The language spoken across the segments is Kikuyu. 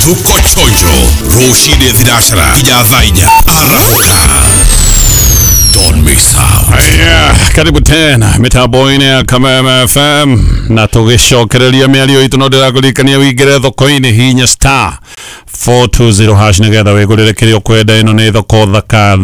Tuko chonjo rũcinĩ thinacara nginya thaa 4 arahũka. Don't miss out. Aya, karibu tena mitambo-inĩ ya Kameme FM na tũgĩcokereria mĩario itũ no ndĩrakũririkania wĩingĩre thoko-inĩ hinya star 420 hash nĩgetha wĩgũrĩre kĩrĩa ũkwenda. Ĩno nĩ thoko thaka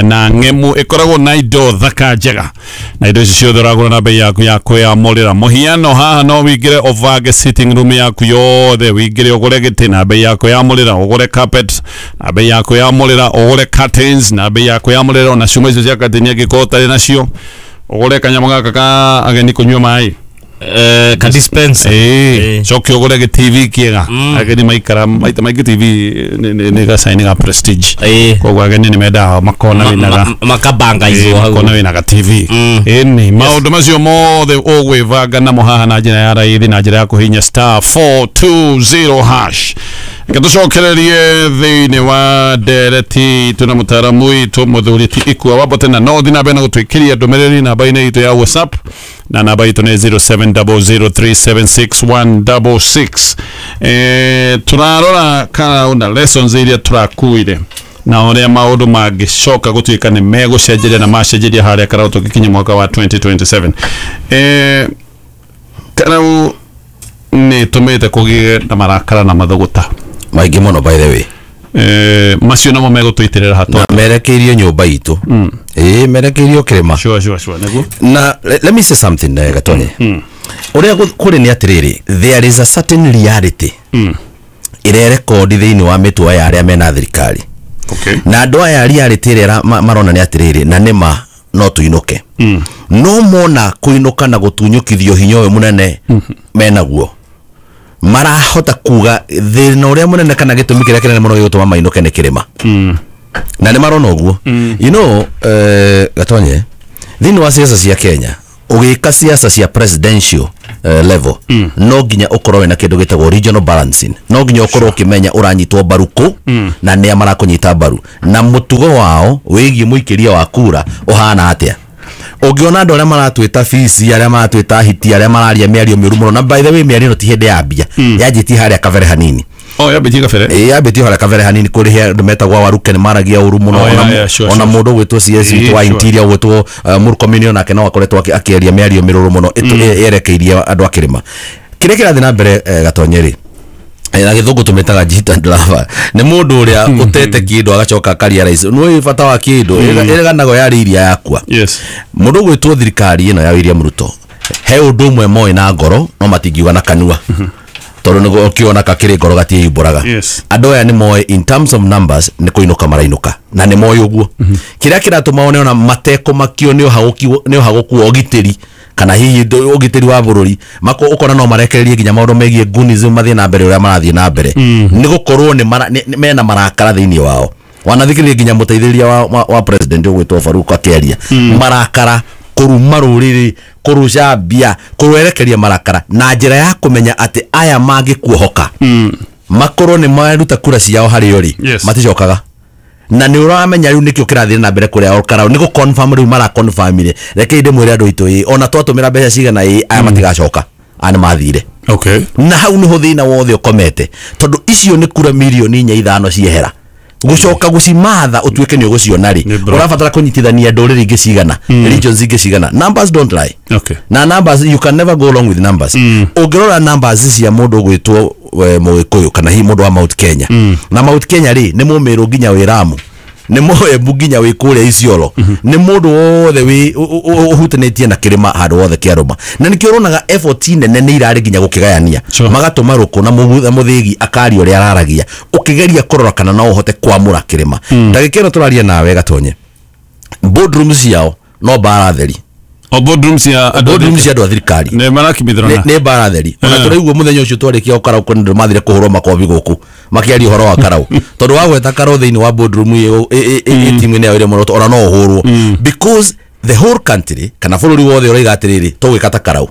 na ng'emu, ĩkoragwo na indo thaka njega, na indo ici ciothe ũragũra na bei yaku ya kwĩyamũrĩra. Mũhiano haha no wĩingĩre ũbange sitting room yaku yothe, wĩingĩre ũgũre gĩtĩ na bei ya kwĩyamũrĩra, ũgũre carpet na bei ya kwĩyamũrĩra, ũgũre curtains na bei ya kwĩyamũrĩra, ona cuma icio cia curtain angĩkorwo ũtarĩ nacio, ũgũre kanyamũ gaka ka ageni kũnyua maĩ. Ka dispenser. Ĩĩ, coke ũgũre gĩ TV kĩega. Ageni maikara maita maingĩ TV nĩ gacaini ga prestige. Koguo ageni nĩ mendaga makona wĩna ga Makabangaizwo hau. Makona wĩna ga TV. Ĩni maũndũ macio mothe ũgwĩbanga namo haha na njĩra ya raithi, na njĩra ya kũhinya star 420 hash. Reke tũcokererie thĩinĩ wa ndereti itũ na mũtaaramu witũ mũthuri ti Ikua Wambote, na no ũthiĩ na mbere na gũtwĩkĩria ndũmĩrĩri namba-inĩ itũ ya WhatsApp, na namba itũ nĩ 0700376166. Tũrarora kana na lessons iria tũrakuire na ũrĩa maũndũ mangĩcoka gũtuĩka nĩ megũcenjeria na macenjeria harĩa Karau tũgĩkinya mwaka wa 2027. Karau nĩ ĩtũmĩte kũgĩe na marakara na mathũgũta maingĩ mũno, by the way. Macio namo megũtũitĩrĩra hatũ. Na merekeirio nyũmba itũ, ĩĩ, merekeirio kĩrĩma. Sure, nĩguo. Na let me say something, Gatonye. Ũrĩa kũrĩ nĩ atĩrĩrĩ, there is a certain reality ĩrerekondi thĩinĩ wa mĩtwe ya arĩa mena thirikari. Na andũ aya, reality ĩrĩa marona nĩ atĩrĩrĩ, na nĩma no tũinũke, no mona kũinũka na gũtunyũkithio hinya ũyũ mũnene menaguo, marahota kuga thĩna ũrĩa mũnene kana gĩtũmi kĩrĩa kĩnene mũno gĩgũtũma mainũke nĩ kĩrĩma, na nĩ marona ũguo. Gatonye, thĩinĩ wa siasa cia Kenya, ũgĩka siasa cia presidential level, no nginya ũkorwo wĩna kĩndũ gĩtagwo regional balancing. No nginya ũkorwo ũkĩmenya ũranyitwo mbaru kũ na nĩa marakũnyita mbaru na mũtugo wao wĩgiĩ mũikĩria wa kura ũhana atĩa. Ũngĩona andũ arĩa maratwĩta bici, arĩa maratwĩta hiti, arĩa mararia mĩario mĩũru mũno, na by the way, mĩario ĩno ti hĩndĩ yambia, yanjĩtie harĩa kabere hanini. Oh, yambĩtie kabere. Ĩĩ, yambĩtie harĩa kabere hanini kũrĩ andũ metagwo Waruke, nĩ maragia ũru mũno. Oh, Ona yeah, sure. Mũndũ ũgwĩtwo CS witũ wa interior ũgwĩtwo Murkomen, onake no akoretwo akĩaria mĩario mĩrũrũ mũno yerekeirie andũ a kĩrĩma. Kĩrĩa kĩrathiĩ na mbere, Gatonye rĩ, na gĩthũngũ tũmĩtaga jitter lover, nĩ mũndũ ũrĩa ũtete kĩndũ agacoka akarealize nĩ bata wa kĩndũ ĩrĩganago yarĩ iria yakua. Mũndũ ũgwĩtwo thirikari ĩno ya William Ruto, he ũndũ ũmwe moĩ na ngoro no matingiuga na kanua, tondũ nĩguo ũkĩona kakĩrĩ ngoro gatiĩyumbũraga. Andũ aya nĩ moĩ in terms of numbers nĩ kũinũka marainũka, na nĩ moĩ ũguo. Kĩrĩa kĩratũma one ona matekũmakio nĩ ũhagũku wa ũgitĩri kana hihi ũgitĩri wa bũrũri mako, ũkona no marekererie nginya maũndũ megiĩ gunism mathiĩ na mbere ũrĩa marathiĩ na mbere, nĩ gũkorwo nĩ mena marakara thĩinĩ wao. Wanathikĩrĩria nginya mũteithĩrĩria wa president ũgwĩtwo Faruk akĩaria marakara, kũruma rũrĩrĩ, kũrũcambia, kũrwerekeria marakara na njĩra ya kũmenya atĩ aya mangĩkuohoka makorwo nĩ maruta kura ciao harĩ o rĩ, maticokaga. Na nĩ ũramenya rĩu nĩkĩo kĩrathiĩ na mbere kũrĩa Karau, nĩ gũ confirm rĩu maraconfirmire. Reke ndĩmwĩre andũ aitũ, ĩ ona twatũmĩra mbeca cigana, ĩ aya matigacoka, aya nĩ mathire. Na hau nĩho thĩna wothe ũkomete, tondũ icio nĩ kura mirioni 4, 5 ciehera, gũcoka gũcimatha ũtuĩke nĩ ũgũciona rĩ, Nĩ bro. ũrabatara kũnyitithania ndũrĩrĩ ingĩ cigana, regions ingĩ cigana. Numbers don't lie. Na numbers, you can never go wrong with numbers. Ũngĩrora numbers cia mũndũ ũgwĩtwo Mũgĩkũyũ kana hihi mũndũ wa Mount Kenya, na Mount Kenya rĩ, nĩ mũmĩrũ nginya wĩ Ramu, nĩ mũembu nginya wĩ kũrĩa Isiolo, nĩ mũndũ wothe wĩ ũhutanĩtie na kĩrĩma handũ wothe kĩarũma, na nĩkĩo ũronaga effort nene nĩ irarĩ nginya gũkĩgayania. Magatũma rũkũ na mũthĩgi akaria ũrĩa araragia, ũkĩgeria kũrora kana no ũhote kwamũra kĩrĩma. Ndagĩka ĩno tũraria nawe, Gatonye, boardroom ciao no mbara theri. O boardroom cia andũ Boardroom cia andũ a thirikari nĩ marakimithirana. Nĩ mbara theri. Ona tũraigua mũthenya ũcio twarĩkia Karau kwĩna andũ mathire kũhũrwo makobi gũkũ makĩaria ũhoro wa Karau, tondũ wagweta Karau thĩinĩ wa boardroom ĩ timu-inĩ ya William Ruto, ona no ũhũrwo, because the whole country kana bũrũri wothe ũraiga atĩrĩrĩ, tũgwĩka ta Karau.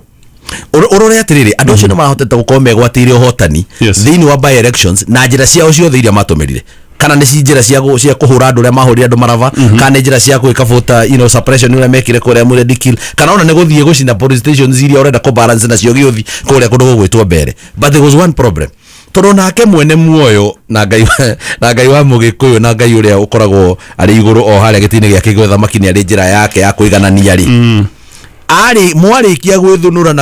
Ũrore atĩrĩrĩ, andũ acio nĩ marahotete gũkorwo megwatĩire ũhotani thĩinĩ wa by elections na njĩra ciao ciothe iria matũmĩrire, kana nĩ njĩra cia kũhũra andũ ũrĩa mahũrire andũ marava, kana nĩ njĩra cia gwĩka voter suppression ũrĩa mekire kũrĩa Mũrendikil, kana ona nĩ gũthiĩ gũcina police stations iria ũrenda kũ balance nacio gĩũthi kũrĩa kũndũ gũgwĩtwo mbere. But there was one problem. Tondũ nake mwene muoyo na Ngai wa Mũgĩkũyũ na Ngai ũrĩa ũkoragwo arĩ igũrũ o harĩa gĩtĩ-inĩ gĩake gĩa ũthamaki nĩ arĩ njĩra yake ya kũiganania rĩ. Arĩ mwarĩkia gwĩthũnũra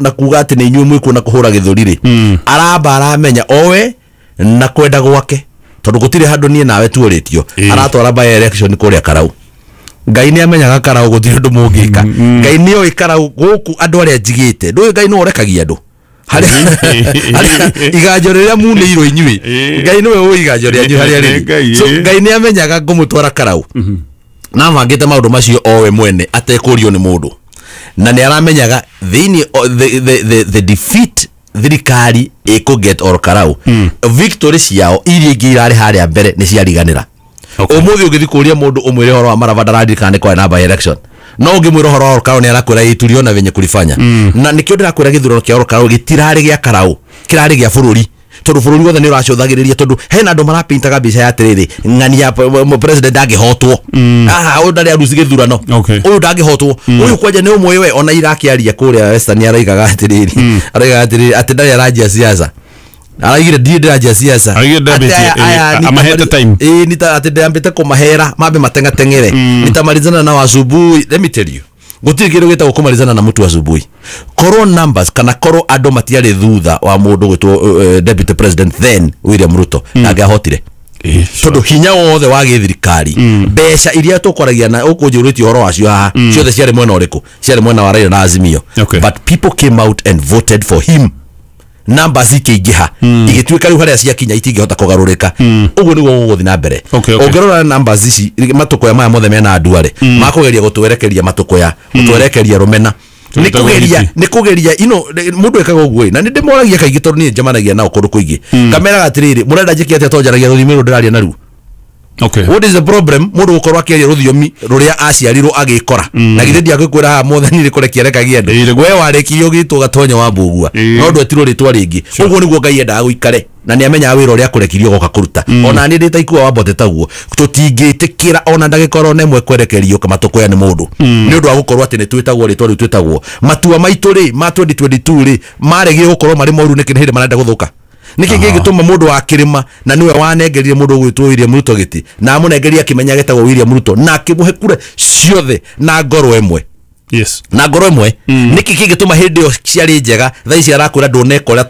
na kuga atĩ nĩ inyuĩ mwĩkuona kũhũra gĩthũri rĩ, aramba aramenya owe na kwenda gwake tondũ gũtirĩ handũ niĩ nawe tuorĩtio aratwara by election kũrĩa Karau. Ngai nĩ amenyaga Karau gũtirĩ ũndũ mũngĩka. Ngai nĩ oĩ Karau gũkũ andũ arĩa njigĩte ndũĩ Ngai nĩ ũrekagia andũ iganjo rĩrĩa munĩirwo inyuĩ Ngai nĩwe ũĩ iganjo rĩanyu harĩa rĩrĩ. So Ngai nĩ amenyaga ngũmũtwara Karau na mangĩte maũndũ macio owe mwene atekũrio nĩ mũndũ na nĩ aramenyaga thĩinĩ the defeat thirikari ĩkũget or Karau victory ciao iria ingĩ irarĩ harĩa mbere nĩ ciariganĩra. Ũmũthĩ ũngĩthiĩ kũria mũndũ ũmwĩre ũhoro wa Marava ndararirikana nĩ kwarĩ na by election no ũngĩmwĩra ũhoro wa Karau nĩ arakwĩra ĩĩ tuliona venye kulifanya. Na nĩkĩo ndĩrakwĩra gĩthurano kĩa Karau gĩtirarĩ gĩa Karau, kĩrarĩ gĩa bũrũri tondũ bũrũri wothe nĩ ũracũthagĩrĩria tondũ hena andũ marapintaga mbica ya atĩrĩrĩ ng'ani ya president ndangĩhotwo. Aha, ũyũ ndarĩ aruci gĩthurano, ũyũ ndangĩhotwo, ũyũ kwanja nĩ ũmwe we ona irakĩaria kũrĩa Western araigaga atĩrĩrĩ, araigaga atĩrĩrĩ atĩ ndarĩ aranjia siasa, araigire ndiĩ ndĩranjia siasa amahete time ĩĩ atĩ ndĩambĩte kũmahera mambe matengateng'ere nitamalizana nao asubuhi. Let me tell you, gũtirĩ kĩndũ gĩtagwo kũmalizana na mũtu asubuhi. Korwo numbers kana korwo andũ matiarĩ thutha wa mũndũ gwĩtwo deputy president then William Ruto ndangĩahotire tondũ hinya wothe wa gĩthirikari mbeca iria tũkoragia na ũkũnjũrĩtie ũhoro wacio haha ciothe ciarĩ mwena ũrĩkũ? Ciarĩ mwena wa Raila na Azimio. But people came out and voted for him. Numbers ikĩingĩha igĩtuĩka rĩu harĩa ciakinya itingĩhota kũgarũrĩka. Ũguo nĩguo gũgũthiĩ na mbere. Ũngĩrora numbers ici matũkũya maya mothe mena andũ arĩ makũgeria gũtwerekeria matũkũya gũtwerekeria rũmena nĩ kũgeria ino mũndũ ekaga ũguo na nĩ ndĩmoragia kaingĩ tondũ niĩ njemanagia nao kũndũ kũingĩ ngameraga atĩrĩrĩ mũrenda njĩke atĩa tondũ njaragia rũthiomi rũrũ ndĩraria naruo. What is the problem? Mũndũ gũkorwo akĩaria rũthiomi rũrĩa aciarirwo agĩkora na githĩ ndiagĩkwĩra haha mwathani rĩkũrekia arekagia andũ we warĩkirie ũgĩtwo Gatonyo wa Mbũgua no ndwetirwo rĩtwa rĩngĩ. Ũguo nĩguo Ngai endaga gũikare na nĩ amenyaga wĩra ũrĩa akũrekirie ũgoka kũruta. Ona niĩ ndĩ ta Ikua wa Mbote taguo tũtingĩtĩkĩra ona ndagĩka oro na ĩmwe kwerekerio matũkũya nĩ mũndũ nĩ ũndũ wa gũkorwo atĩ nĩ twĩtagwo rĩtwa rĩu twĩtagwo. Matua maitũ rĩ ma 2022 rĩ maregire gũkorwo marĩ moru nĩkĩ nĩ hĩndĩ marenda gũthũka? Nĩkĩ gĩgĩtũma mũndũ wa kĩrĩma na nĩwe wanengerire mũndũ ũgwĩtwo William Ruto gĩtĩ na amũnengeria akĩmenya getagwo William Ruto na akĩmũhe kura ciothe na ngoro ĩmwe? Yes. Na ngoro ĩmwe. Nĩkĩ kĩngĩtũma hĩndĩ ĩyo ciarĩ njega thaa ici arakwĩra ndũneka ũrĩa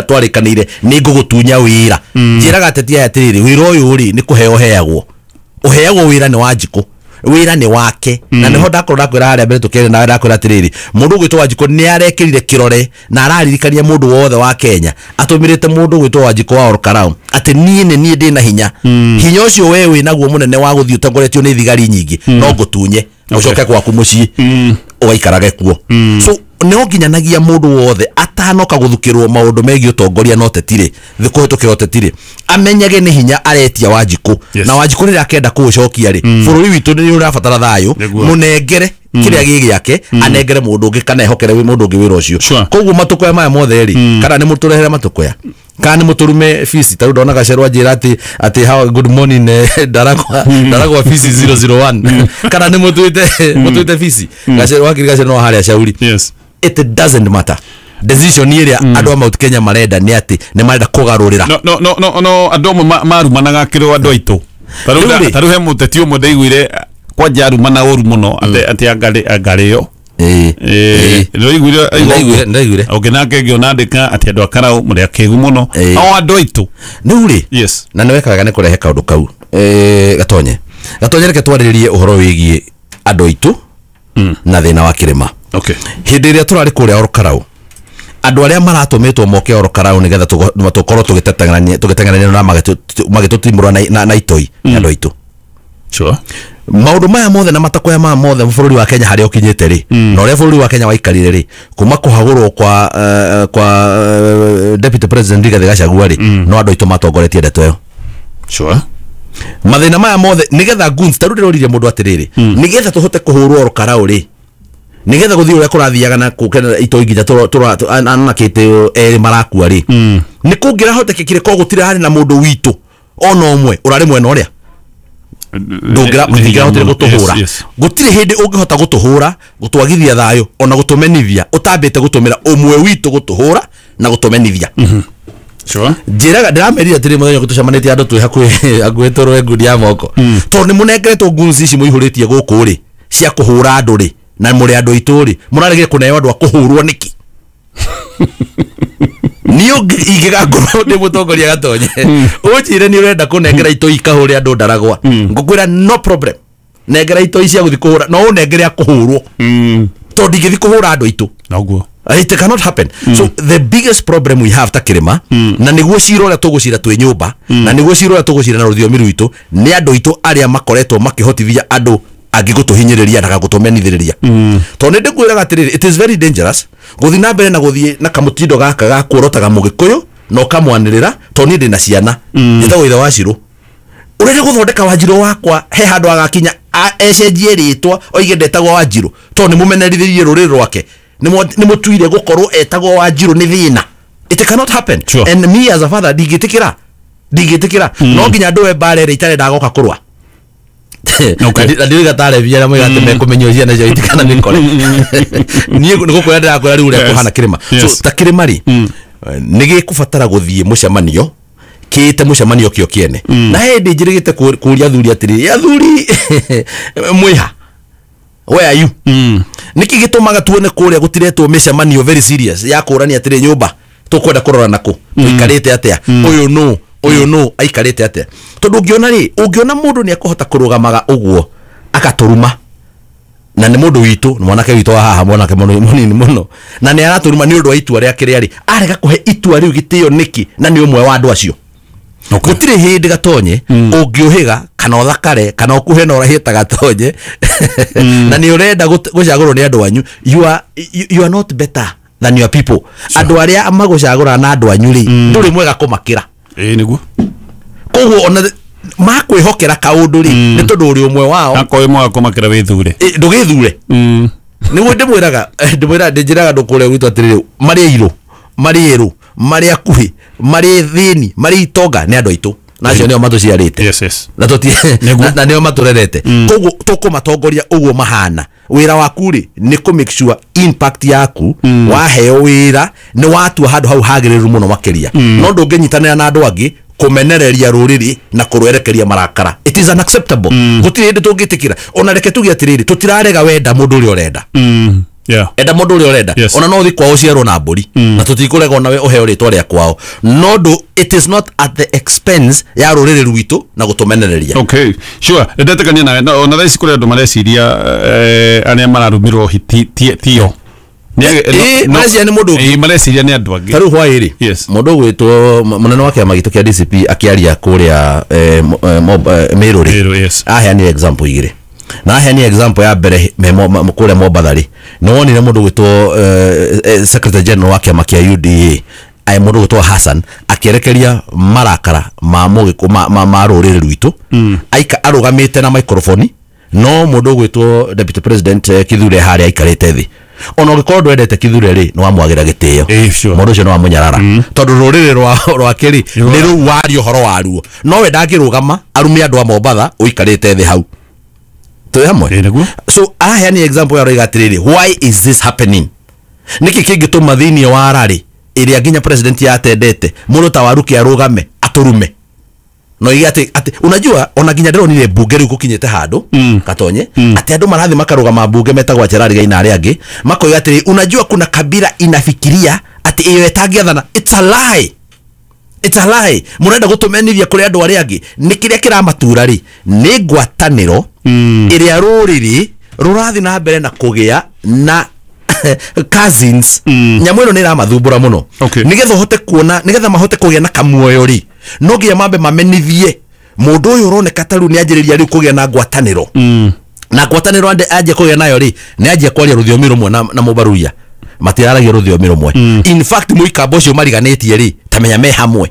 twarĩkanĩire nĩ ngũgũtunya wĩra? Njĩraga ateti aya atĩrĩrĩ wĩra ũyũ rĩ nĩ kũheo ũheagwo, ũheagwo wĩra nĩ Wanjikũ, wĩra nĩ wake. Na nĩho ndakorwo ndakwĩra harĩa mbere tũkĩaria nawe ndakwĩra atĩrĩrĩ mũndũ ũgwĩtwo Wanjikũ nĩ arekĩrire kĩrore na araririkania mũndũ wothe wa Kenya atũmĩrĩte mũndũ ũgwĩtwo Wanjikũ wa Olkarau atĩ niĩ nĩ niĩ ndĩna hinya, hinya ũcio we wĩ naguo mũnene wa gũthiĩ ũtongoretio nĩ thigari nyingĩ no ngũtunye ũcoke gwaku mũciĩ ũgaikarage kuo. So no nginyanagia mũndũ wothe atanoka gũthukĩrwo maũndũ megiĩ ũtongoria no tetirĩ kũhĩtũkĩra ũtetirĩ amenyage nĩ hinya aretia Wanjikũ. Na Wanjikũ rĩrĩa akenda kũũcokia rĩ bũrũri witũ nĩ ũrabatara thayũ mũnengere kĩrĩa gĩ gĩake anengere mũndũ ũngĩ kana ehokere mũndũ ũngĩ wĩra ũcio. Koguo matũkũya maya mothe rĩ kana nĩ mũtũrehere matũkũya kana nĩ mũtũrume fees ta rĩu ndona Gacerwa anjĩra atĩ how good morning ndaragwa fees 001 kana nĩ mũtwĩte fees Gacerwa wakiri Gacerwa no harĩa Shauri. Yes. It doesn't matter. Decision ĩrĩa andũ a Mount Kenya marenda nĩ atĩ nĩ marenda kũgarũrĩra. No andũ amwe marumanaga kĩrĩ andũ aitũ. Ta rĩu he mũteti ũmwe ndaiguire kwanja arumana ũru mũno atĩ angarĩo. Ndaiguire. Ũngĩ nake ngĩona andĩka atĩ andũ a Karau mũrĩ akĩgu mũno. O andũ aitũ. Rĩu rĩ. Yes. Na nĩ weka wega nĩ kũrehe kaũndũ kau. Gatonye. Gatonye reke twarĩrĩrie ũhoro wĩgiĩ andũ aitũ na thĩna wa kĩrĩma. Okay. Hĩndĩ ĩrĩa tũrarĩ kũrĩa Olkarau andũ arĩa maratũmĩtwo moke Olkarau nĩgetha tũkorwo tũgĩteng'erania na magĩtũtimũra na itoi nĩ andũ aitũ. Sure. Maũndũ maya mothe na matakũya maya mothe bũrũri wa Kenya harĩa ũkinyĩte rĩ na ũrĩa bũrũri wa Kenya waikarire rĩ kuma kũhagũrwo kwa deputy president Rigathi Gachagua rĩ no andũ aitũ matongoretie ndeto ĩyo. Sure. Mathĩna maya mothe nĩgetha goons ta rĩu ndĩroririe mũndũ atĩrĩrĩ nĩgetha tũhote kũhũrwo Olkarau rĩ nigetha guthii uria kurathiaga na kukena itoi nginya anakite eri marakua ri ni kungirahotekekire ko gutire hari na mundu witu ona umwe urari mwena uria ndungira mutingirahotire gutuhura gutire hindi ungihota gutuhura gutwagithia thayo ona gutumenithia utambite gutumira umwe witu gutuhura na gutumenithia. Sure. Njĩraga ndĩramerire atĩrĩ mũthenya ũngĩ tũcemanĩtie andũ twĩ hakuhĩ tũrũe ngundi ya moko, tondũ nĩ mũnengeretwo guns ici mũihũrĩtie gũkũ rĩ cia kũhũra andũ rĩ, na mũrĩ andũ aitũ rĩ, mũraregire kũneo andũ a kũhũrwo nĩkĩ? Niĩ ingĩgakorwo ndĩ mũtongoria Gatonye, ũnjĩre nĩ ũrenda kũnengera itoi ikahũre andũ ndaragwa, ngũkwĩra no problem, nengera itoi cia gũthiĩ kũhũra, no ũnengere a kũhũrwo, tondũ ndingĩthiĩ kũhũra andũ aitũ. Noguo. It cannot happen. So the biggest problem we have ta kĩrĩma, na nĩguo cira ũrĩa tũgũcira twĩ nyũmba, na nĩguo cira ũrĩa tũgũcira na rũthiomi rwitũ, nĩ andũ aitũ arĩa makoretwo makĩhotithia andũ angĩ gũtũhinyĩrĩria na gũtũmenithĩrĩria. Tondũ nĩ ndĩkwĩraga atĩrĩrĩ, it is very dangerous gũthiĩ na mbere na gũthiĩ na kamũtindo gaka ga kuorotaga mũgĩkũyũ na ũkamwanĩrĩra, tondũ niĩ ndĩna ciana njĩtagwo ithe wa Cirũ. Ũrenda gũthondeka Wanjirũ wakwa he handũ agakinya ecenjie rĩtwa oige ndetagwo Wanjirũ, tondũ nĩ mũmenerithirie rũrĩrĩ rwake, nĩ mũtuire gũkorwo etagwo Wanjirũ nĩ thĩna. It cannot happen. Sure. And me as a father ndingĩtĩkĩra no nginya ndũe mbara ĩrĩa itarenda goka kũrũa. Okay. Na ndiroiga tarĩ bia na moiga atĩ mekũmenywo ciana ciao itikana mĩkore. Niĩ nĩ gũkwĩra ndĩrakwĩra rĩu ũrĩa Yes. kũhana kĩrĩma. Yes. So ta kĩrĩma rĩ, nĩ gĩkũbatara gũthiĩ mũcemanio kĩte mũcemanio kĩo kĩene, na hĩndĩ njĩrĩgĩte kũria athuri atĩrĩrĩ, athuri mwĩha, where are you? Nĩkĩ gĩtũmaga tuone kũrĩa gũtiretwo mĩcemanio very serious ya kũrania atĩrĩ, nyũmba tũkwenda kũrora nakũ, tũikarĩte atĩa, ũyũ nũ, ũyũ nũ aikarĩte atĩa? Tondũ ũngĩona rĩ, ũngĩona mũndũ nĩ ekũhota kũrũgamaga ũguo akatũruma, na nĩ mũndũ witũ, nĩ mwanake witũ wa haha, mwanake mũnini mũno, na nĩ aratũruma nĩ ũndũ wa itua rĩake rĩarĩ arega kũhe itua rĩu gĩtĩo nĩkĩ, na nĩ ũmwe wa andũ acio. Okay. Gũtirĩ hĩndĩ Gatonye ũngĩũhĩga kana ũthakare kana ũkuhe na ũrahie ta Gatonye, na nĩ ũrenda gũcagũrwo nĩ andũ anyu, you are not better than your people. Andũ arĩa magũcagũra na andũ anyu rĩ, ndũrĩ mwega kũmakĩra. Ĩĩ nĩguo. Koguo ona makwĩhokera kaũndũ rĩ, nĩ tondũ ũrĩ ũmwe wao. Akorwo mwega kũmakĩra wĩthure. Ndũgĩthure. Nĩguo ndĩmwĩraga ndĩnjĩraga andũ kũrĩa gwitũ atĩrĩrĩ, marĩ airũ, marĩ erũ, marĩ akuhĩ, marĩ thĩni, marĩ itonga, nĩ andũ aitũ, na acio nĩo matũciarĩte. Yes, yes. Na tũti Nĩguo. na nĩo matũrerete, koguo tũkũmatongoria ũguo mahana. Wĩra waku rĩ nĩ kũ make sure impact yaku, waheo wĩra nĩ watua handũ hau hagĩrĩru mũno makĩria, no ndũngĩnyitanĩra na andũ angĩ kũmenereria rũrĩrĩ na kũrwerekeria marakara. It is unacceptable. Gũtirĩ hĩndĩ tũngĩtĩkĩra. Ona reke tuge atĩrĩrĩ, tũtirarega wenda mũndũ ũrĩa ũrenda. Yeah. Enda mũndũ ũrĩa ũrenda. Yes. Ona no ũthiĩ kwao ũciarwo na mbũri, na tũtikũrega onawe ũheo rĩtwa rĩa kwao, no ndũ it is not at the expense ya rũrĩrĩ rwitũ na gũtũmenereria. Okay, sure. Ndetekania nawe. No, ona thaa ici kũrĩ andũ mareciria arĩa mararumirwo tio. Mareciria nĩ mũndũ ũngĩ. Mareciria nĩ andũ angĩ. Ta rĩu hwaĩ rĩ, Yes. mũndũ ũgwĩtwo mũnene wa kĩama gitũ kĩa DCP akĩaria kũrĩa Meru rĩ, Meru, yes. aheanire example igĩrĩ, na aheanire example ya mbere kũrĩa Mombatha rĩ, nĩ wonire mũndũ ũgwĩtwo secretary general wa kĩama kĩa UDA, ai mũndũ ũgwĩtwo Hassan, akĩerekeria marakara ma mũgĩkũ ma rũrĩrĩ rwitũ, aika arũgamĩte na microphone, no mũndũ ũgwĩtwo deputy president Kithure harĩa aikarĩte thĩ. Ona ũngĩkorwo ndwendete Kithure rĩ, nĩ wamwagĩra gĩtĩo. Sure. Mũndũ ũcio nĩ wamũnyarara, tondũ rũrĩrĩ rwake rĩ nĩ rũu waria ũhoro waruo, no we ndangĩrũgama arume andũ a Mombatha ũikarĩte thĩ hau. Twĩ hamwe? Ĩĩ nĩguo. So aheani example ya roiga atĩrĩrĩ, why is this happening? Nĩkĩ kĩngĩtũma thĩinĩ wa rarĩ ĩrĩa nginya president yatendete mũndũ ta Waruki arũgame atũrume no ige atĩ unajua ona nginya ndĩronire mbunge rĩu gũkinyĩte handũ Gatonye, atĩ andũ marathiĩ makarũgama mbunge metagwo Cherari Gaina arĩa angĩ makoiga atĩrĩ, unajua kuna kabila inafikiria atĩ ĩyo ĩtangĩathana. It's a lie. It's a lie. Mũrenda gũtũmenithia kũrĩ andũ arĩa angĩ. Nĩ kĩrĩa kĩramatura rĩ, nĩ ngwatanĩro ĩrĩa rũrĩrĩ rũrathiĩ na mbere na kũgĩa na cousins. Nyamũ ĩno nĩ ĩramathumbũra mũno. Okay. Nĩgetha ũhote kuona, nĩgetha mahote kũgĩa na kamuoyo rĩ, no nginya mambe mamenithie mũndũ ũyũ ũroneka ta rĩu nĩ anjĩrĩria rĩu kũgĩa na ngwatanĩro. Na ngwatanĩro anjia kũgĩa nayo rĩ, nĩ anjia kwaria rũthiomi rũmwe na mũbaruia. Matiraragia rũthiomi rũmwe. In fact mũikamba ũcio mariganĩtie rĩ, ta menya me hamwe.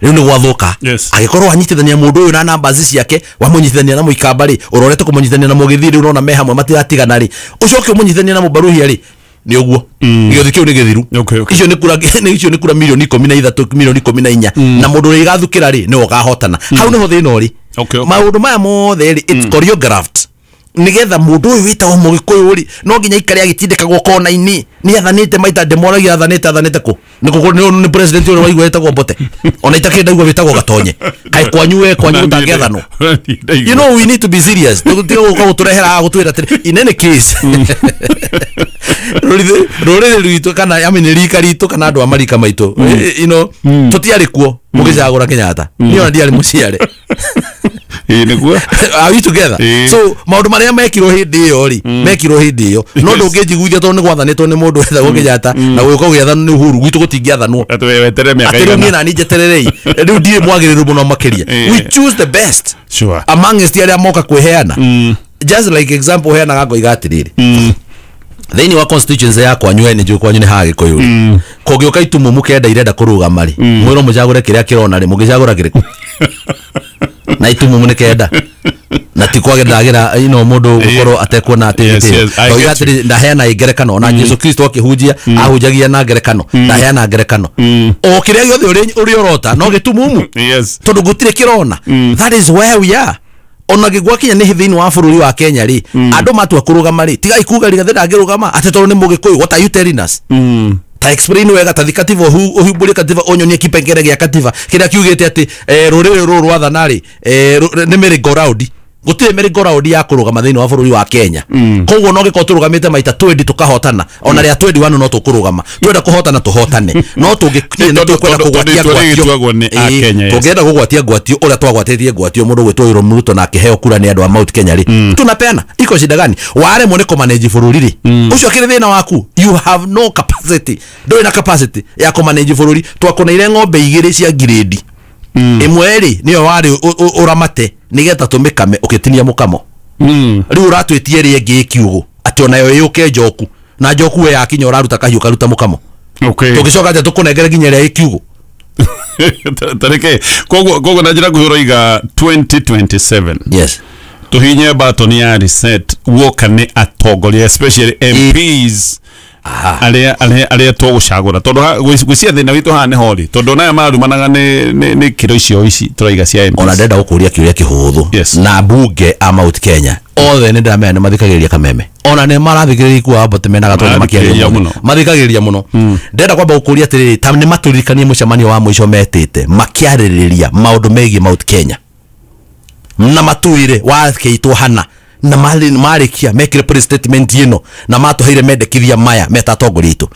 Rĩu nĩ gwathũka. Yes. Angĩkorwo wanyitithania mũndũ ũyũ na numbers ciake, wamũnyitithania na mũikamba rĩ, ũrorete kũmũnyitithania na mũgĩthii rĩu ũrona me hamwe matiratigana rĩ, ũcoke ũmũnyitithanie na mũbaruhia rĩ, nĩ ũguo. Gĩothi kĩu nĩ gĩthiru. Okay, okay. Icio nĩ kura, icio nĩ kura milioni 13, milioni 14, na mũndũ ũrĩa igathukĩra rĩ nĩwe ũkahotana. Hau nĩho thĩna ũrĩ. Okay, okay. Maũndũ maya mothe rĩ, it's choreographed. Nĩgetha mũndũ ũyũ wĩtagwo mũgĩkũyũ rĩ, no nginya aikare agĩtindĩkagwo kona-inĩ. Nĩ athanĩte maita ndĩmoragia athanĩte kũ? Nĩ president ũrĩa waigua wĩtagwo Mbote. Ona itakĩrĩ ndaigua wĩtagwo Gatonye. Kaĩ kwanyu we kwanyu gũtangĩathanwo. You know we need to be serious. Tũtige gũka gũtũrehera haha gũtwĩra atĩrĩ in any case. Rũrĩrĩ rwitũ kana I mean rika ritũ kana andũ a marika maitũ. You know tũtiarĩ kuo mũgĩcagũra Kenyatta. Niĩ ona ndiarĩ mũciare. Are we together? So maũndũ marĩa mekirwo hĩndĩ ĩyo rĩ, mekirwo hĩndĩ ĩyo. No ndũngĩnjiguithia tondũ nĩ gwathanĩtwo nĩ mũndũ wetagwo Kenyatta na gũgĩũka gũgĩathanwo nĩ Uhuru, gwitũ gũtingĩathanwo. Atĩ rĩu niĩ nani njetererei. Rĩu ndirĩ mwagĩrĩru mũno makĩria. We choose the best. Sure. Amongst arĩa moka kwĩheana. Just like example heanaga ngoiga atĩrĩrĩ. Thĩinĩ wa constituency ya kwanyu we nĩ njũĩ kwanyu nĩ ha Gĩkũyũ rĩ. Kũngĩũka itumumu kenda irenda kũrũgama rĩ, mwĩrwo mũcagũre kĩrĩa kĩrona rĩ, mũngĩcagũra kĩrĩkũ? Na itumumu nĩ kenda. Na ti kwage ndagĩra ino mũndũ gũkorwo atekuona atĩ ndoiga atĩrĩ ndaheana ngerekano ona Jesu Kristo akĩhunjia ahunjagia na ngerekano ndaheana ngerekano o kĩrĩa gĩothe ũrĩ ũrota no gĩtumumu tondũ gũtirĩ kĩrona. That is where we are. Ona gĩgwakinya nĩ thĩinĩ wa bũrũri wa Kenya rĩ, andũ matua kũrũgama rĩ, tigai kuga Rigathĩ ndangĩrũgama atĩ tondũ nĩ Mũgĩkũyũ. What are you telling us? Ta explain wega, ta thi katiba ũhumbũrie katiba ũnyonie kipengere gĩa katiba kĩrĩa kiugĩte atĩ rũrĩrĩ rũrũ rwathana rĩ nĩ merry-go-round. Gũtirĩ merry-go-round ya kũrũgama thĩinĩ wa bũrũri wa Kenya. Koguo no gĩkorwo tũrũgamĩte maita 20 tũkahotana, ona rĩa 21 no tũkũrũgama. Twenda kũhotana tũhotane, no tũngĩkinya nĩ tũkwenda kũgwatia ngwatio. Tũngĩenda kũgwatia ngwatio ũrĩa twagwatĩtie ngwatio mũndũ gwĩtwo William Ruto na akĩheo kura nĩ andũ a Mount Kenya rĩ, tunapeana iko shida gani? Waremwo nĩ kũmanage bũrũri rĩ, ũcio akĩrĩ thĩna waku. You have no capacity, ndũrĩ na capacity ya kũmanage bũrũri. Twakũneire ng'ombe igĩrĩ cia ngirĩndi, ĩmwe rĩ nĩyo warĩ ũramate nĩgetha tũmĩkame ũgĩtinia mũkamo. Rĩu ũratwĩtie ĩrĩa ĩngĩ ĩ kiugũ atĩ onayo ĩyũke njoku, na njoku we yakinya ũraruta kahiũ karuta mũkamo. Tũngĩcoka atĩa tũkũnengere nginya ĩrĩa ĩ kiugũ? Tareke koguo na njĩra nguhĩ ũroiga 2027. Yes. Tũhihinye button ya reset woka nĩ atongoria especially MPs arĩa tũgũcagũra tondũ gwĩcia thĩna witũ haha nĩ hori tondũ naya marumanaga nĩ kĩro icio ici tũraiga cia MPs. Ona ndenda gũkũria kĩũria kĩhũthũ na mbunge a Mount Kenya othe nĩ ndĩramenya nĩ mathikagĩrĩria Kameme, ona nĩ marathikĩrĩria Ikua Mbote mena Gatonye makĩaria mũno, mathikagĩrĩria mũno. Ndĩrenda kwamba gũkũria atĩrĩrĩ, ta nĩ matũririkanie mũcemanio wa mũico metĩte makĩarĩrĩria maũndũ megiĩ Mount Kenya na matuire wakĩitwo hana na marĩkia mekire press statement ĩno na matũheire mendekithia maya meta atongoria aitũ.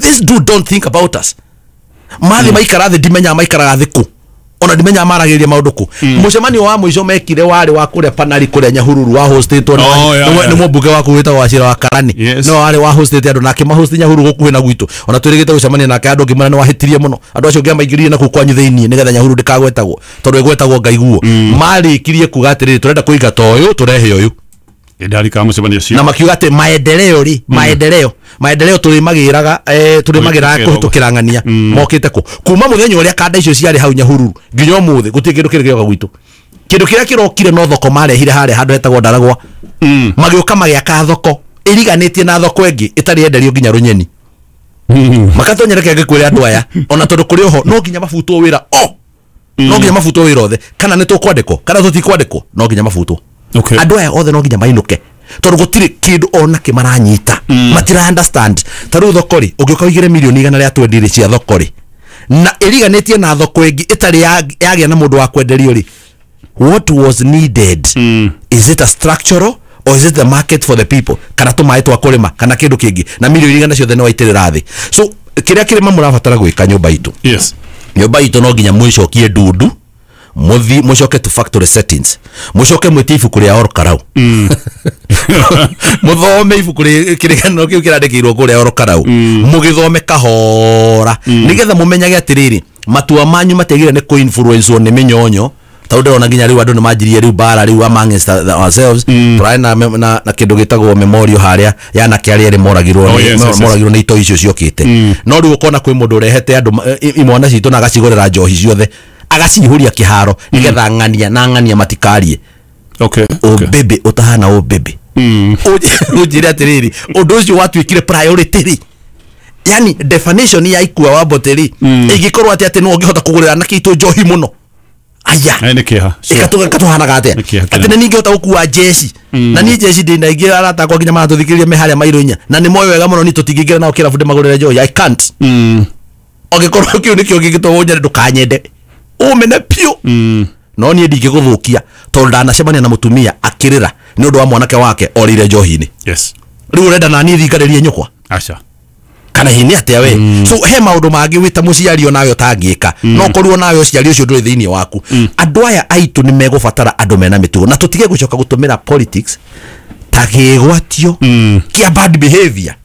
This dude don't think about us. Mathi maikara thĩ ndimenya maikaraga thĩ kũ, ona ndimenya maragĩrĩria maũndũ kũ. Mũcemanio wa mũico mekire warĩ wa kũrĩa Panari kũrĩa Nyahururu wa hostĩtwo nĩ mũmbunge waku wĩtagwo Wachira wa Karani. No warĩ wa hostĩte andũ nake mahosti Nyahururu gũkuhĩ na gwitũ. Ona twĩrĩgĩte gũcemania nake andũ ngĩmwĩra nĩ wahĩtirie mũno, andũ acio ngĩamaingĩrire na kũu kwanyu thĩinĩ nĩgetha Nyahururu ndĩkagwetagwo tondũ ĩgwetagwo ngaiguo. Marĩkirie kuga atĩrĩrĩ, tũrenda kũingata ũyũ tũrehe ũyũ. Na makiuga atĩ maendeleo rĩ, maendeleo tũrĩmagĩraga tũrĩmagĩraga kũhĩtũkĩra ng'ania mokĩte kũ kuma mũthenya ũrĩa kanda icio ciarĩ hau Nyahururu nginya ũmũthĩ gũtirĩ kĩndũ kĩrĩ gĩoka gwitũ. Kĩndũ kĩrĩa kĩrokire no thoko marehire harĩa handũ hetagwo Ndaragwa, magĩũka magĩaka thoko ĩriganĩtie na thoko ĩngĩ ĩtarĩ yenderio nginya Rũnyeni. Makatonyera kĩangĩ kwĩra andũ aya ona tondũ kũrĩ oho no nginya mabutwo wĩra o no nginya mabutwo wĩra othe, kana nĩ tũkwandĩkwo kana tũtikwandĩkwo, no nginya mabutwo. Andũ aya othe no nginya mainũke tondũ gũtirĩ kĩndũ ona kĩ maranyita, matira understand. Ta rĩu thoko rĩ, ũngĩũka ũigĩre mirioni 120 rĩ cia thoko rĩ, na ĩriganĩtie na thoko ĩngĩ ĩtarĩ yagĩa na mũndũ wa kwenderio rĩ, what was needed? Is it a structural or is it the market for the people? Kana tũmaĩ twa kũrĩma kana kĩndũ kĩngĩ, na mirioni 100 ciothe nĩ waitĩrĩra thĩ. So kĩrĩa kĩrĩma mũrabatara gwĩka nyũmba itũ, nyũmba itũ no nginya mwĩcokie ndundu, muthi mucoke to factory settings, mucoke mwĩtie ibuku rĩa Ol Kalou, muthome ibuku kĩrĩgano kĩu kĩrandĩkĩirwo kũrĩa Ol Kalou, mũgĩthome kahora nĩgetha mũmenyage atĩrĩrĩ matua manyu matiagĩrĩire nĩ kũ-influencewo nĩ mĩnyonyo. Tondũ ndĩrona nginya rĩu andũ nĩ manjirie rĩu bara rĩu amongst ourselves, tũrarĩ na kĩndũ gĩtagwo memorial harĩa ya anake arĩa erĩ moragirwo nĩ itoi icio ciokĩte. No rĩu ũkona kwĩ mũndũ ũrehete andũ imwana citũ na agacigũrĩra njohi ciothe agacihũria kĩharo nĩgetha ng'ania na ng'ania matikarie. Ũbebe ũtahana ũbebe ũnjĩre atĩrĩrĩ ũndũ ũcio watuĩkire priority rĩ, yani definition ya Ikua wa Mbote rĩ ĩngĩkorwo atĩ atĩ no ũngĩhota kũgũrĩra anake aitũ njohi mũno Aya. Nĩ kĩeha. Ĩkatũhanaga atĩa? Atĩ nĩ ningĩhota gũkua jeshi. Na niĩ jeshi ndĩ na ingĩ arata akwa nginya maratũthikĩrĩria me harĩa mairũ inya. Na nĩ moĩ wega mũno niĩ tũtingĩingĩra nao kĩrabu ndĩmagũrĩre njohi. I can't. Angĩkorwo kĩu nĩkĩo gĩgĩtũma ũnyende ndũkanyende. Ũmene piũ. No niĩ ndingĩgũthũkia tondũ ndanacemania na mũtumia akĩrĩra nĩ ũndũ wa mwanake wake orĩire njohi-inĩ. Yes. Rĩu ũrenda na niĩ thingarĩrie nyũkwa? Aca. Kana hihi nĩ atĩa we? So he maũndũ mangĩ wĩ ta mũciari onawe ũtangĩka. No korwo nawe ũciari ũcio ndũrĩ thĩinĩ waku. Andũ aya aitũ nĩ megũbatara andũ mena mĩtugo na tũtige gũcoka gũtũmĩra politics ta kĩgwatio kĩa bad behavior.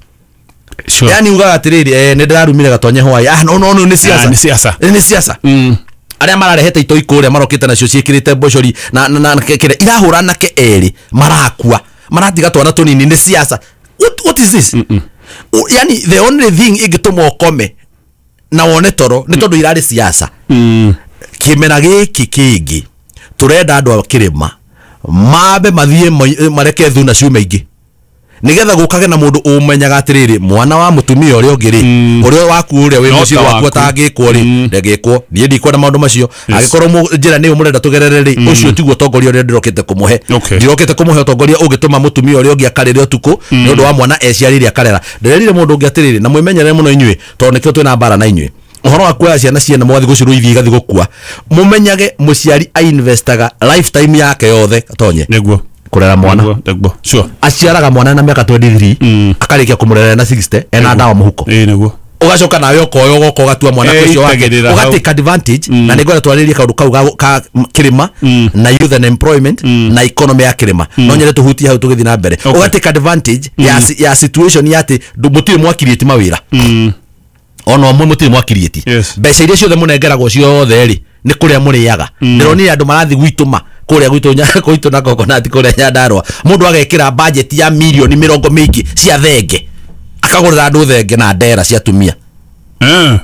Sure. Yani ugaga atĩrĩrĩ, nĩ ndĩrarumire Gatonye hwaĩ. Ah, no no no nĩ siasa. Nĩ siasa. Nĩ siasa. Arĩa mararehete itoi kũrĩa marokĩte nacio ciĩkĩrĩte mbocori na kĩrĩa irahũra anake erĩ marakua maratiga twana tũnini nĩ siasa. What is this? Yani the only thing ĩngĩtũma ũkome na wone toro nĩ tondũ irarĩ siasa. Kĩmera gĩkĩ kĩngĩ tũrenda andũ a kĩrĩma mambe mathiĩ mareke thuna ciume ingĩ nĩgetha gũkage na mũndũ ũmenyaga atĩrĩrĩ mwana wa mũtumia ũrĩa ũngĩ rĩ ũrĩa waku ũrĩa wĩ mũciĩ waku atangĩkwo rĩ ndangĩkwo. Niĩ ndikwenda maũndũ macio. Angĩkorwo njĩra nĩyo mũrenda tũgerere rĩ ũcio tiguo ũtongoria ũrĩa ndĩrokĩte kũmũhe. Ndirokĩte kũmũhe ũtongoria ũngĩtũma mũtumia ũrĩa ũngĩ akarĩre ũtukũ nĩ ũndũ wa mwana eciarĩire akarera. Ndĩrerire mũndũ ũngĩ atĩrĩrĩ na mwĩmenyerere mũno inyuĩ tondũ nĩkĩo twĩna mbara na inyuĩ. Ũhoro wa kuoya ciana ciene mũgathiĩ gũcirũithia igathiĩ gũkua. Mũmenyage mũciari ainvestaga lifetime yake yothe Gatonye. Nĩguo. Kũrera mwana. Nĩguo. Sure. Aciaraga mwana na mĩaka 23 akarĩkia kũmũrera na 60 ena ndawa mũhuko. Nĩguo. Ũgacoka nawe ũkoya ũgoka ũgatua mwana ũcio wake ũga take advantage. Na nĩngwenda twarĩrie kaũndũ kau ka kĩrĩma na youth and employment na economy ya kĩrĩma. No nyende tũhutie hau tũgĩthiĩ na mbere. Ũga take advantage ya situation ya atĩ mũtirĩ mwakiriĩti mawĩra. Ona ũmwe mũtirĩ mwakiriĩti. Mbeca iria ciothe mũnengeragwo ciothe rĩ nĩ kũrĩa mũrĩaga. Ndĩronire andũ marathiĩ gwitũma kũrĩa gwitũ na coconut kũrĩa Nyandarũa. Mũndũ agekĩra budget ya mirioni mĩrongo mĩingĩ cia thenge. Akagũrĩra andũ thenge na ndera cia atumia.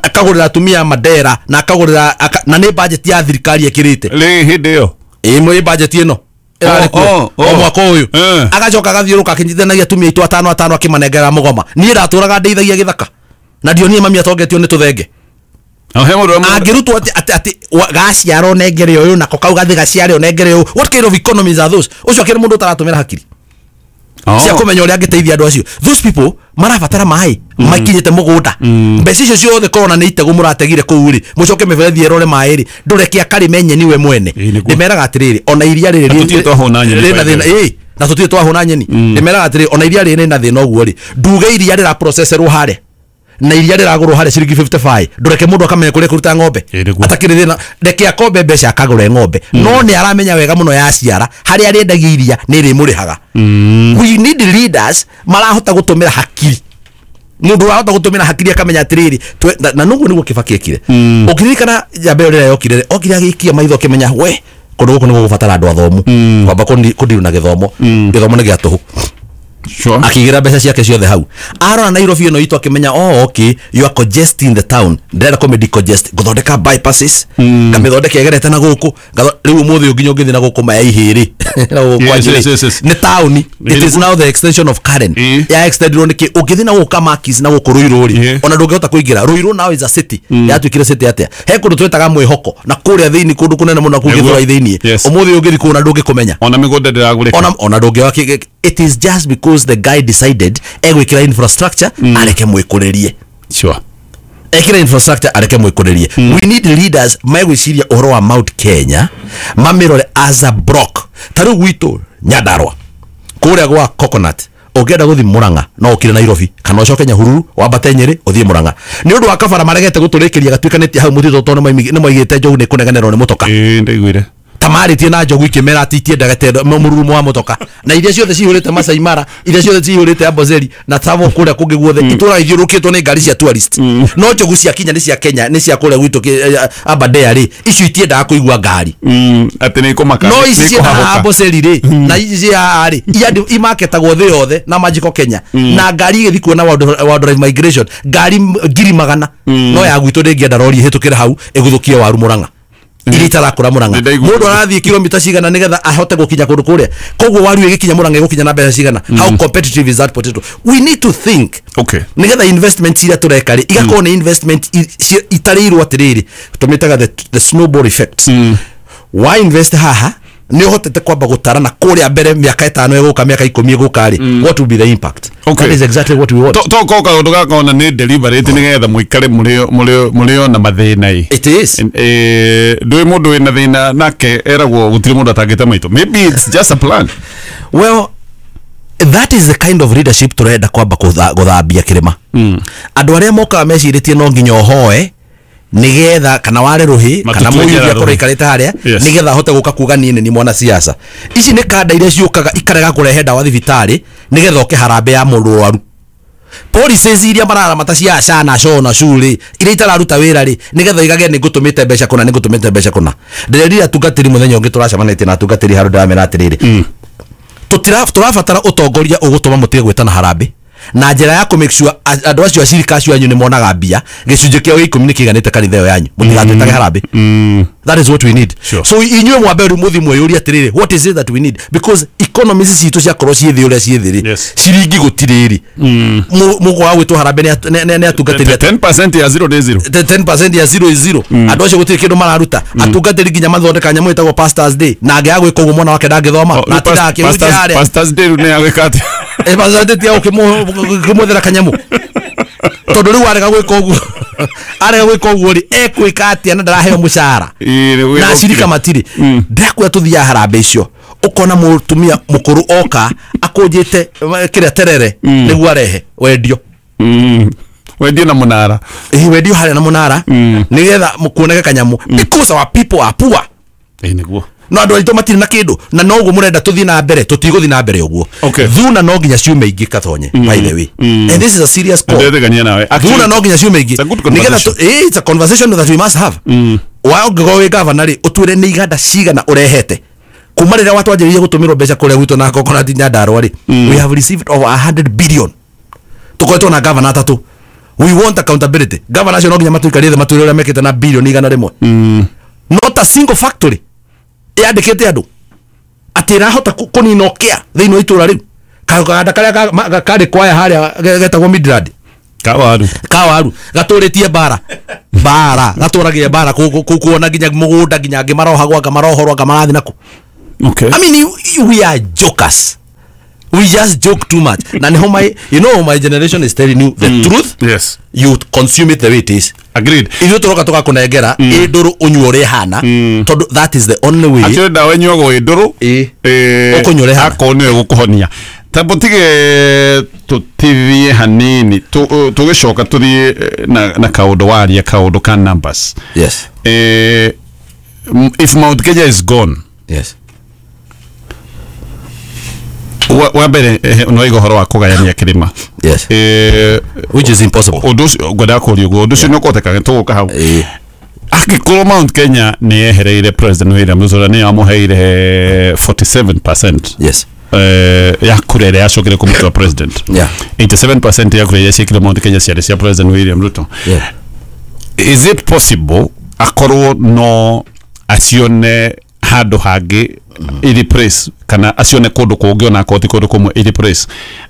Akagũrĩra atumia mandera na akagũrĩra na nĩ budget ya thirikari ĩkĩrĩte. Rĩ hĩndĩ ĩyo. Ĩ budget ĩno. Ĩrarĩ kuo o mwaka ũyũ. Agacoka agathiũrũka akĩnyitithanagia atumia aitũ atano atano akĩmanengera mũgoma. Niĩ ndatũraga ndeithagia gĩthaka. Na ndionire mami atongetio nĩ tũthenge. Angĩrutwo atĩ gaciara ũnengere ũyũ nako kau gathi gaciare ũnengere ũyũ. What kind of economies are those? Ũcio akĩrĩ mũndũ ũtaratũmĩra hakiri cia kũmenya ũrĩa angĩteithia andũ acio. Those people marabatara maĩ makinyĩte mũgũnda. Mbeca icio ciothe korona nĩ itegũ mũrategire kũu rĩ mũcoke mĩberethi ĩrore maĩ rĩ ndũreke akarĩme nyeni we mwene. Ndĩmeraga atĩrĩrĩ ona iria rĩrĩ rĩna thĩna na tũtirĩ twahũna nyeni. Ndĩmeraga atĩrĩrĩ ona iria rĩrĩ rĩna thĩna ũguo rĩ nduge iria rĩra processerwo harĩa na iria rĩragũrwo harĩa ciringi 55 ndũreke mũndũ akamenya kũrĩa kũruta ng'ombe atakĩrĩ thĩna. Reke akombe mbeca akagũre ng'ombe no nĩ aramenya wega mũno yaciara harĩa arĩendagia iria nĩ rĩmũrĩhaga. We need leaders marahota gũtũmĩra hakiri. Mũndũ ũrahota gũtũmĩra hakiri akamenya atĩrĩrĩ na nũguo nĩguo Kibaki ekire. Ũkĩririkana njamba ĩyo rĩrĩa yokire okire agĩikia maitho akĩmenya we kũndũ gũkũ nĩ gũgũbatara andũ athomu kwamba kũndirũ na gĩthomo. Gĩthomo nĩ gĩa tũhũ. Sure. Akĩigĩra mbeca ciake ciothe hau. Arora Nairobi ĩno itũ akĩmenya oh okay you are congesting the town. Ndĩrenda kũmĩ decongest ngũthondeka bypasses ngamĩthondeka ĩgerete na gũkũ. Rĩu ũmũthĩ nginya ũngĩthiĩ na gũkũ maya ihĩrĩ na gũkũ kwa Njĩrĩ. Nĩ taũni. It is now the extension of Karen. Ya extendirwo nĩkĩ ũngĩthiĩ na gũkũ Kamakis na gũkũ Ruiru rĩ ona ndũngĩhota kũingĩra. Ruiru now is a city. Yatuĩkire city atĩa? He kũndũ twĩtaga Mwĩhoko na kũrĩa thĩinĩ kũndũ kũnene mũno kũu Gĩthũrai thĩinĩ. Ũmũthĩ ũngĩthiĩ kũu na ndũngĩkũmenya. Ona mĩgũnda ndĩragũrĩka. Ona ndũngĩoya. It is just because the guy decided egwikira infrastructure areke mwikuririe. Sure. Ekira infrastructure areke mwikuririe. We need leaders megwiciria ũhoro wa Mount Kenya mamirore as a block. Ta rĩu gwitũ Nyandarũa kũrĩa gwa Coconut ũngĩenda gũthiĩ Murang'a no ũkire Nairobi kana ũcoke Nyahururu wambate Nyĩrĩ ũthiĩ Murang'a. Nĩ ũndũ wa kabara maregete gũtũrĩkĩria gatuĩkanĩtie hau mũtitũ tondũ nĩ moigĩte njogu nĩ kũnegenerwo nĩ mũtoka. Ndaiguire. Tamarĩtie na njogu ikĩmera atĩ itiendaga mũrurumo wa mũtoka na iria ciothe cihũrĩte Masai Mara iria ciothe cihũrĩte Amboseli na Tsavo kũrĩa kũngĩ guothe itũra ithiũrũkĩtwo nĩ ngari cia tourist. No njogu cia Kenya nĩ cia Kenya nĩ cia kũrĩa gwitũ Aberdare rĩ icio itiendaga kũigua ngari atĩ nĩ ikũmaka no ici cia Amboseli rĩ na ici cia haha rĩ imaketagwo thĩ yothe na Magical Kenya na ngari igĩthiĩ kuona wildlife migration ngari 100,000 no ya gwitũ ndĩngĩenda rori ĩhĩtũkĩre hau ĩgũthũkie waru Murang'a iria itarakũra Murang'a. Mũndũ arathiĩ kilomita cigana nĩgetha ahote gũkinya kũndũ kũrĩa koguo waru ĩgĩkinya Murang'a ĩgũkinya na mbeca cigana. How competitive is that potato? We need to think. Okay. Nĩgetha investment iria tũreka rĩ igakorwo nĩ investment itarĩirwo atĩrĩrĩ tũmĩtaga the snowball effect. Wa invest haha nĩ ũhotete kwamba gũtara na kũrĩa mbere mĩaka 5 ĩgũka, mĩaka 10 ĩgũka rĩ, what will be the impact? Okay. That is exactly what we want. To ko kaũndũ gakona nĩ deliberate nĩgetha mũikare mũrĩ ona mathĩna ĩ. It is. Ndũĩ mũndũ wĩna thĩna nake eragwo gũtirĩ mũndũ atangĩte maitũ. Maybe it's just a plan. Well, that is the kind of leadership turenda kwamba gũthambia kĩrĩma. Andũ arĩa mokaga mecirĩtie no nginya ũhoe nigetha kana ware rũhĩ kana Matutue mũyuthi njara akorwo rũhĩ. aikarĩte harĩa Yes. nigetha ahote gũka kuga niĩ nĩ niĩ mwana siasa. Ici nĩ kanda iria ciũkaga ikarega kũrehe ndawa thibitarĩ nigetha oke harambee ya mũrwaru. Policies iria mararamata cia SHA na SHO na SHU rĩ, iria itararuta wĩra rĩ, nigetha igage nĩ ngũtũmĩte mbeca kũna, nĩ ngũtũmĩte mbeca kũna. Ndĩrerire atungatĩri mũthenya ũngĩ tũracemanĩtie na atungatĩri handũ ndĩramera atĩrĩrĩ, tũrabatara ũtongoria ũgũtũma mũtige gwĩtana harambee na njĩra ya kũ make sure andũ acio acirika acio anyu nĩ monaga mbia, gĩcunjĩ kĩao gĩa 10 nĩ kĩiganĩte kanitha ĩyo yanyu, mũtigatwĩtage harambee. That is what we need. Sure. So inyuĩ mwambe rĩu mũthiĩ mwĩyũrie atĩrĩrĩ, what is it that we need? Because economies citũ ciakorwo ciĩ thĩ ũrĩa ciĩ thĩ rĩ, Yes. ciringi gũtirĩ rĩ, mũkwaga gwĩtwo harambee nĩ atungatĩri atĩa? 10% ya 0 nĩ 0. The 10% ya 0 is 0. Andũ acio gũtirĩ kĩndũ mararuta. Atungatĩri nginya mathondeka nyamũ ĩtagwo Pastors Day, na angĩaga gwĩka ũguo mwana wake ndangĩthoma, na atindaga akĩhunjia harĩa. Pastors Day rĩu nĩ yagwĩka atĩa? Pastors Day ti ya gũkĩmwethera kanyamũ, tondũ rĩu arega gwĩka ũguo, arega gwĩka ũguo rĩ, ekwĩka atĩa na ndaraheo mũcara Ĩĩ, nĩ na acirika gwĩka. matirĩ. Ndĩrakwĩra tũthiaga harambee icio ũkona mũtumia mũkũrũ oka akũnjĩte kĩrĩa terere nĩguo arehe wendio. Wendio na mũnara. Ĩĩ, wendio harĩa na mũnara nĩgetha kuoneke kanyamũ, because our people are poor. Ĩĩ nĩguo. No andũ aitũ matirĩ na kĩndũ, na noguo mũrenda tũthiĩ na mbere, tũtigũthiĩ na mbere ũguo. Okay. Thuna no nginya ciume ingĩ Katonye, by the way, and this is a serious call. Ndĩretĩkania nawe. Actually, Thuna no nginya ciume ingĩ. It's a good Nĩgetha conversation. it's a conversation that we must have. Wa ũngĩkorwo wĩ gavana rĩ, ũtwĩre nĩ iganda cigana ũrehete kuma rĩrĩa watwanjĩrĩirie gũtũmĩrwo mbeca kũrĩa gwitũ na Coconut Nyandarua rĩ. We have received over 100 billion. Tũkoretwo na gavana atatũ. We want accountability. Gavana acio no nginya matũikarie thĩ matwĩre ũrĩa mekĩte na bilioni 100. Not a single factory yandĩkĩte andũ atĩ ĩrahota kũnina ũkĩa thĩinĩ wa itũra rĩu. Kaganda karĩa karĩ kwaya harĩa getagwo Midland Kawaru. Kawaru gatũrĩtie mbara mbara gatũragie mbara kuona nginya mũgũnda nginya angĩ marohagwo anga marohorwo anga marathiĩ nakũ. Okay. I mean, we are jokers. We just joke too much. Na niho my, you know, my generation is telling you the truth. Yes. You consume it the way it is. Agreed. Ithuĩ tũroka tũgakũnengera ĩ ndũrũ ũnyue ũrĩa ĩhana, tondũ that is the only way. Actually ndawa ĩnyuagwo ĩ ndũrũ. Ĩ. Ĩ, Ũkũnyua ũrĩa ĩhana. akorwo nĩyo ĩgũkũhonia. Tambo tige tũtithie hanini, tũgĩcoka tũthiĩ na kaũndũ waria kaũndũ ka numbers. Yes. If Mount Kenya is gone, Yes. wa mbere no igo horo wa kũgayania kĩrĩma. Yes. Which is impossible. Ũndũ ũcio ngwendaga kũria ũguo, ũndũ ũcio nĩ ũkũhoteka tũgũka hau. Angĩkorwo Mount Kenya nĩ yehereire President William Ruto nĩ yamũheire 47% Yes. ya kura ĩrĩa yacokire kũmũtua president. Yeah. 87% ya kura iria ciekire Mount Kenya ciarĩ cia President William Ruto. Yeah. Is it possible akorwo no acione handũ hangĩ i-replace kana acione kũndũ kũngĩ ona akorwo ti kũndũ kũmwe i-replace?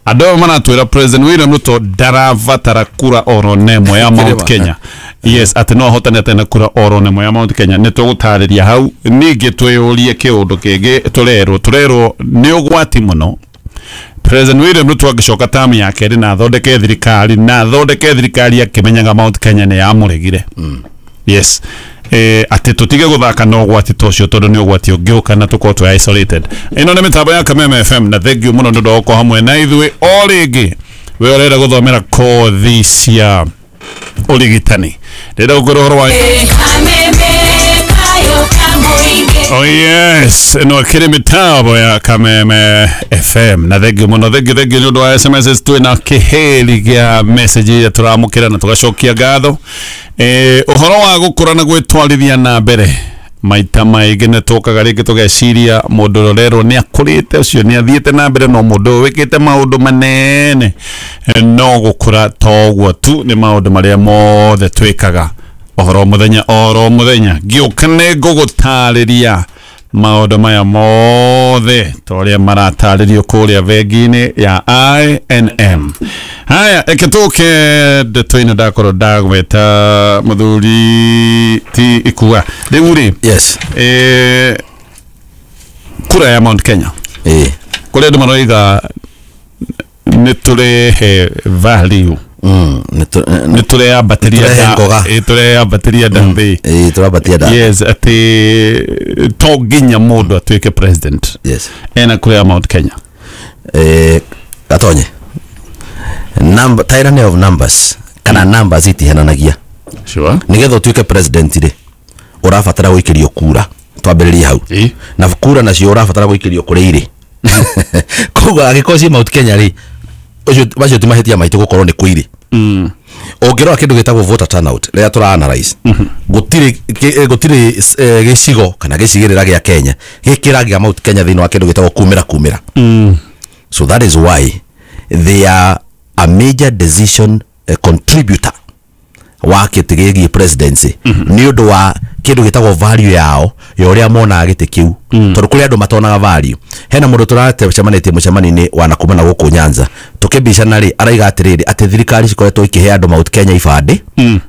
Andũ aya maratwĩra President William Ruto ndarabatara kura oro na ĩmwe ya Mount Kĩrĩma. Kenya. Yes, atĩ no ahotane atarĩ na kura oro na ĩmwe ya Mount Kenya. Nĩ tũgũtarĩria hau ningĩ twĩyũrie kĩũndũ kĩngĩ tũrerwo nĩ ũgwati mũno President William Ruto angĩcoka tamu ya kerĩ na athondeke thirikari akĩmenyaga Mount Kenya nĩ yamũregire. Yes. Atĩ tũtige gũthaka na ũgwati ta ũcio tondũ nĩ ũgwati ũngĩũka na tũkorwo twĩ isolated. Ĩno nĩ mĩtambo ya Kameme FM na thank you mũno nĩ ũndũ wa gũkorwo hamwe na ithuĩ o rĩngĩ. We ũrenda gũthomera kothi cia ũrigitani, ndĩrenda gũkwĩra ũhoro wa Oh yes, no kiri mitambo ya Kameme FM na thank you mũno, thank you nĩ ũndũ wa SMS twĩ na kĩhĩri gĩa message iria tũramũkĩra na tũgacokia ngatho. Ũhoro wa gũkũra na gwĩtwarithia na mbere maita maingĩ nĩ tũkaga rĩngĩ tũgeciria mũndũ ũrĩa ũrerwo nĩ akũrĩte ũcio nĩ athiĩte na mbere, no mũndũ ũyũ wĩkĩte maũndũ manene no gũkũra to ũguo tu, nĩ maũndũ marĩa mothe twĩkaga oro mũthenya oro mũthenya. Ngĩũka nĩ ngũgũtarĩria Maũndũ maya mothe ta ũrĩa maratarĩrio kũrĩa bengi-inĩ ya I&M. Haya, reke tũke ndeto-inĩ ndakorwo ndagweta mũthuri ti ikua rĩu rĩ. Yes. Kura ya Mount Kenya kũrĩa andũ maroiga nĩ tũrehe value, nĩ tũreyambatĩria Nĩ tũrehe ngoga. Tũreyambatĩria ndambĩ. Tũrambatia nda. Yes, atĩ to nginya mũndũ atuĩke president Yes. ena kũrĩa Mount Kenya. Gatonye number, tyranny of numbers kana numbers itihananagia. Sure. Nigetha ũtuĩke president rĩ, ũrabatara gũikĩrio kura, twambĩrĩrie hau. Na kura nacio ũrabatara gũikĩrio kũrĩa irĩ. Koguo angĩkorwo ciĩ Mount Kenya rĩ, ũcio macio ti mahĩtia maitũ gũkorwo nĩ kũ irĩ. Ũngĩrora kĩndũ gĩtagwo voter turnout rĩrĩa tũra analyze, gũtirĩ gũtirĩ gĩcigo kana gĩcigĩrĩra gĩa Kenya gĩkĩragia Mount Kenya thĩinĩ wa kĩndũ gĩtagwo kumĩra kumĩra. So that is why they are a major decision contributor wa kĩtĩ gĩgiĩ presidency, nĩ ũndũ wa kĩndũ gĩtagwo value yao ya ũrĩa monaga gĩtĩ kĩu, tondũ kũrĩ andũ matonaga value. Hena mũndũ tũracemanĩtie mũcemanio-inĩ wa nakuma na gũkũ Nyanza tũkĩmbicana rĩ, araiga atĩrĩrĩ, atĩ thirikari cikoretwo ikĩhe andũ Mount Kenya ibandĩ,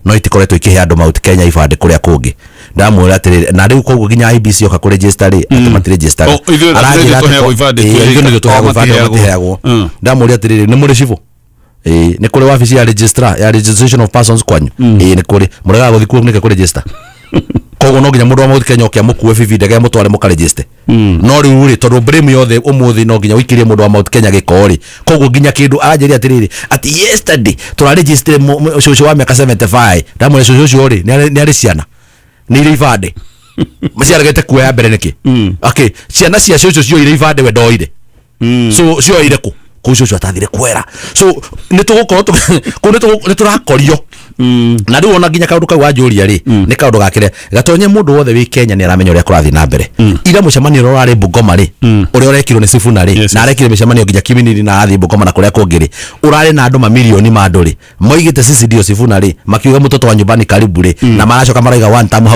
no itikoretwo ikĩhe andũ Mount Kenya ibandĩ kũrĩa kũngĩ. Ndamwĩra atĩrĩrĩ, na rĩu koguo nginya IEBC yoka kũregister rĩ, atĩ matiregistaga. Oh, ithuĩ Aranjĩra ithuĩ atĩ tũheagwo ibandĩ twĩ ithuĩ nĩthuĩ tũheagwo o ibandĩ, o matiheagwo. matiheagwo. Ndamũria atĩrĩrĩ, nĩ mũrĩ cibũ? Ĩĩ. Nĩ kũrĩ wabici ya registrar ya registration of persons kwanyu? Ĩĩ, nĩ kũrĩ. Mũregaga gũthiĩ kuo nĩkĩ kũregister? Koguo no nginya mũndũ wa Mount Kenya oke amũkue bibi ndege amũtware mũkaregister. No rĩu rĩ, tondũ blame yothe ũmũthĩ no nginya ũikĩrie mũndũ wa Mount Kenya gĩko rĩ, koguo nginya kĩndũ aranjĩria atĩrĩrĩ, atĩ yesterday tũraregistire cũcũ wa mĩaka 75. Ndamwĩra cũcũ ũcio rĩ, nĩ arĩ ciana, nĩ irĩ ibandĩ, ciaregete kuoya mbere nĩkĩ? Okay, ciana cia cũcũ cioire ibandĩ, we ndoire. So cioire kũ? Kũu cũcũ atathire kwera. So nĩ tũgũkorwo kũu nĩ tũrakorio. Na rĩu ona nginya kaũndũ kau wanjũria rĩ, nĩ kaũndũ gakĩrĩa gatonye mũndũ wothe wĩ Kenya nĩ aramenya ũrĩa kũrathiĩ na mbere. Ira mũcemanio ũrĩa ũrarĩ Bungoma rĩ, ũrĩa ũrekirwo nĩ Sifuna rĩ, na arekire mĩcemanio nginya Kiminini na arathiĩ Bungoma na kũrĩa kũngĩ rĩ, ũrarĩ na andũ mamirioni ma andũ rĩ, moigĩte sisi ndio Sifuna rĩ, makiuga mtoto wa nyumbani karibu rĩ, na maracoka maraiga one term hau.